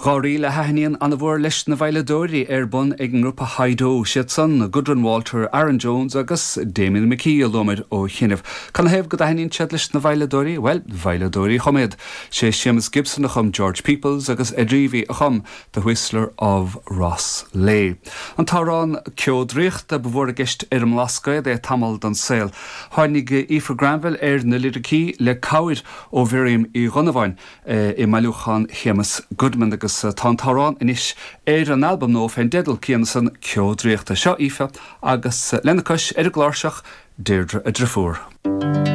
Dá ríl a thaitníonn an-mhór leis na veidhleadóirí ar bun ag an ngrúpa Hi-Do, siad san, Gudrun Walter, Aaron Jones agus Damian McKee a luamar ó chianaibh. Canathaobh go dtaitníonn siad leis na veidhleadóirí? Bhuel, veidhleadóirí a chum iad. Sé Séamus Gibson a chum George Peoples agus Ed Reavy a chum The Whistler of Rosslea. An t-amhrán Ceo Draíochta ba mhór i gceist ar an mBlascaod é tamall den saol. Tháinig Aoife Granville ar na liricí le cabhair ó Mhiriam Uí Dhonnabháin. i mbailiúchán Shéamus Goodman agus tá an t-amhrán anois ar an albam nua fén dteideal céanna san, Ceo Draíochta. Seo Aoife agus lena cois ar an gcláirseach, Deirdre a driofúr.